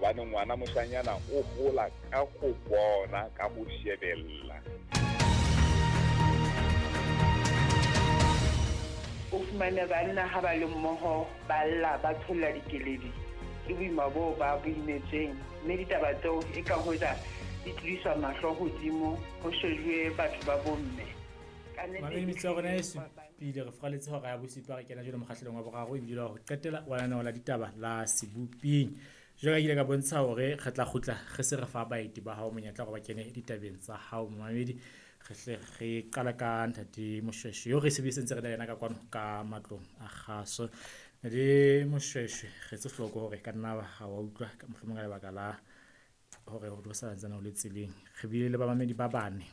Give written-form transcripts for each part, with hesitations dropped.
Hobane ngwana moshanyana o hola ka ho bona, ka ho shebella. O fumane banna ha ba le mmoho ba lla ba tsholla dikeledi ke boima boo ba bo imetsweng, mme ditaba tseo e ka hoja di tlodiswa mahlo hodimo ho shejuwe batho ba bomme. Mamedi metsi ya rona e supile re furaletse hora ya bosupa, re kena jwale mokgahlelong wa boraro ebile wa ho qetela wa lenaneo la ditaba la Seboping. Jwale ka ke ile ka bontsha hore re tla kgutla re se re fa baeti ba hao monyetla hore ba kene ditabeng tsa hao momamedi. Re hle re qala ka ntate Moshweshwe eo re sebedisentse re na le yena ka kwano ka matlong a kgaso. Ntate Moshweshwe, re etse hloko hore ka nna ha wa utlwa mohlomong ka lebaka la hore o sa ntsane o le tseleng. Re bile le bamamedi ba bane.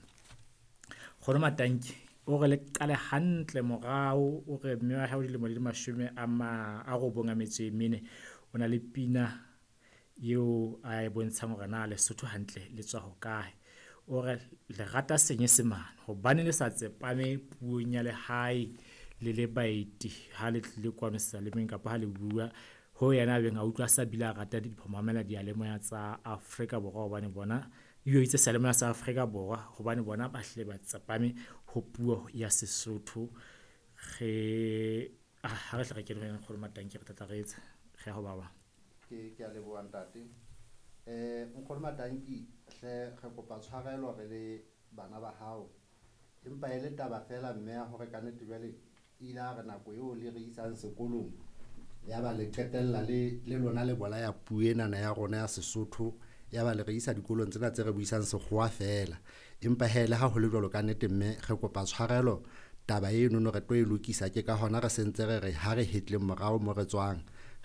Nkgono Matanki o re le qale hantle morao, o re mme wa hae o dilemo di le mashome a ma a robong a metso e mene. O na le pina eo a e bontshang hore na Lesotho hantle le tswa hokae. O re le rata Senyesemane hobane le sa tsepame puong ya lehae le le baeti ha le tlile kwano sealemeng kapa ha le bua. Ho yena a beng a utlwa sa bile a rata ho mamela diyalemoya tsa Afrika Borwa hobane bona ebile o itse seyalemoya sa Afrika Borwa hobane bona ba hlile ba tsepame ho puo ya Sesotho. Re ha re hle re kene ho yena Nkgono Matanki, re tla tla re etsa re ya ho ba bang. Ke a leboha ntate. Nkgono Matanki hle re kopa tshwarelo re le bana ba hao, empa e le taba fela mme ya hore kannete jwale ile a re nako eo le re isang sekolong ya ba le qetella le lona le bolaya puo enana ya rona ya Sesotho, ya ba le re isa dikolong tsena tse re buisang sekgowa fela. Empa hee le ha ho le jwalo kannete mme re kopa tshwarelo, taba enono re tlo e lokisa. Ke ka hona re sentse re re ha re hetleng morao mo re tswang,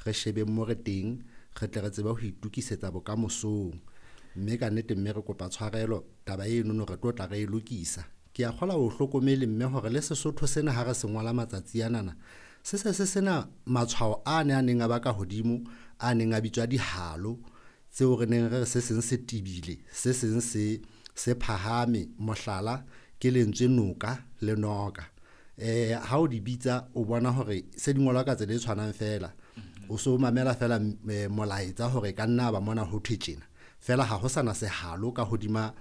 re shebeng mo re teng, re tle re tsebe ho itokisetsa bokamosong. Mme kannete mme re kopa tshwarelo, taba enono re tlo tla re e lokisa. Ke a kgolwa o hlokomele mme hore le Sesotho sena ha re se ngola matsatsi anana, se se se sena matshwao a ne a neng a ba ka hodimo, a neng a bitswa dihalo, tseo re neng re re se seng se tebile, se seng se se phahame. Mohlala ke lentswe noka le noka. Ha o di bitsa o bona hore se di ngolwa ka tsela e tshwanang fela. O so mamela fela molaetsa hore ka nna ba mona ho thwe tjena. Fela ha ho sana sehalo ka hodima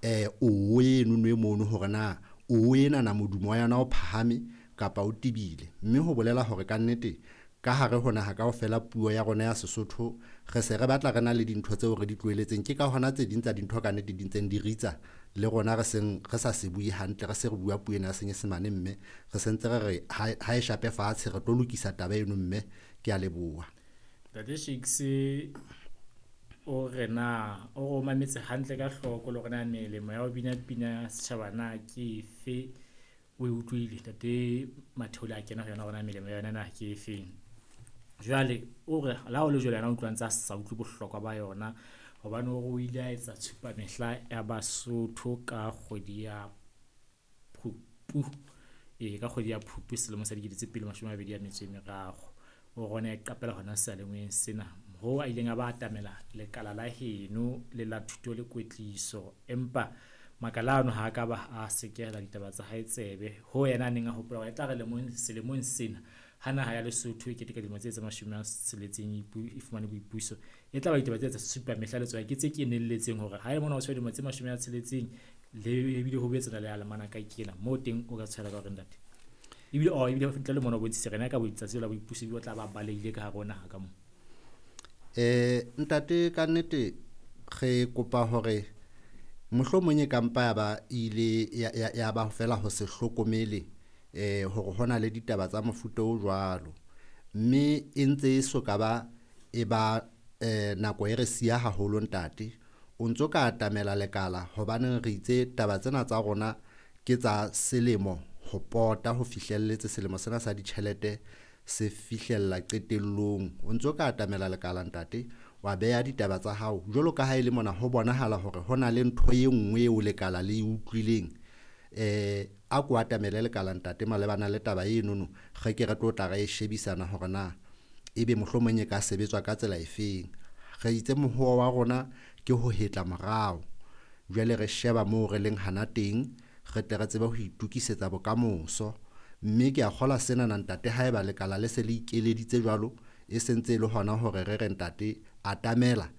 o enono e mono hore na o enana modumo wa yona o phahame kapa o tebile. Mme ho bolela hore kannete ka hare ho naha kaofela puo ya rona ya Sesotho re se re batla re na le dintho tseo re di tlohelletseng. Ke ka hona tse ding tsa dintho kannete di ntseng di ritsa le rona re seng re sa se bue hantle, re se re bua puo ena ya Senyesemane mme re sentse re re ha e shape fatshe re tlo lokisa taba eno mme. Ke a leboha. Ntate Shakes o re na o re o mametse hantle ka hloko le hore na melemo ya ho bina pina ya setjhaba na ke efe. O e utlwile ntate Matheole a kena ho yona hore na melemo ya yona na ke efeng. Jwale o re le ha o le jwalo yena o utlwa ntse a sa utlwe bohlokwa ba yona hobane o re o ile a etsa tshupamehla ya Basotho ka kgwedi ya Phupu. Ee, ka kgwedi ya Phupu selemo sa 2023. O re o ne a iqapela hona seyalemoyeng sena hoo a ileng a ba atamela lekala la heno le la thuto le kwetliso, empa makala ano ha a ka ba a sekehela ditaba tsa hae tsebe. Ho yena a neng a hopola hore e tla re selemong sena ha naha ya Lesotho e keteka dilemo tse 60 e fumane boipuso, e tla ba ditaba tse tsa tshupamehla le tsona ke tse kenelletseng hore ha e mona o tshwere dilemo tse 60 le ebile ho boetse le alemana ka kena moo teng o ka tshwela ka hore ntate ebile o ebile ntle le mona o bontshitse rena ka boitsatsi la boipuso ebile o tla ba balehile ka hare ho naha ka moo. Ntate kannete re kopa hore mohlomong e kampa ya ba ile ya ba fela ho se hlokomele hore hona le ditaba tsa mofuta o jwalo, mme e ntse e so ka ba e ba nako e re siya haholo ntate. O ntso ka atamela lekala hobane re itse taba tsena tsa rona ke tsa selemo ho pota ho fihlelletse selemo sena sa ditjhelete se fihlella qetellong. O ntso ka atamela lekala ntate, wa beha ditaba tsa hao jwalo ka ha e le mona ho bonahala hore ho na le ntho e nngwe eo lekala le e utlwileng. A ko atamele lekala ntate malebana le taba enono, re ke re tlo tla re e shebisana hore na ebe mohlomong e ka sebetswa ka tsela efeng. Re itse mohoa wa rona ke ho hetla morao, jwale re sheba moo re leng hana teng, re tle re tsebe ho itokisetsa bokamoso. Mme ke a kgolwa senana ntate haeba lekala le se le ikeleditse jwalo, e sentse e le hona hore re re ntate atamela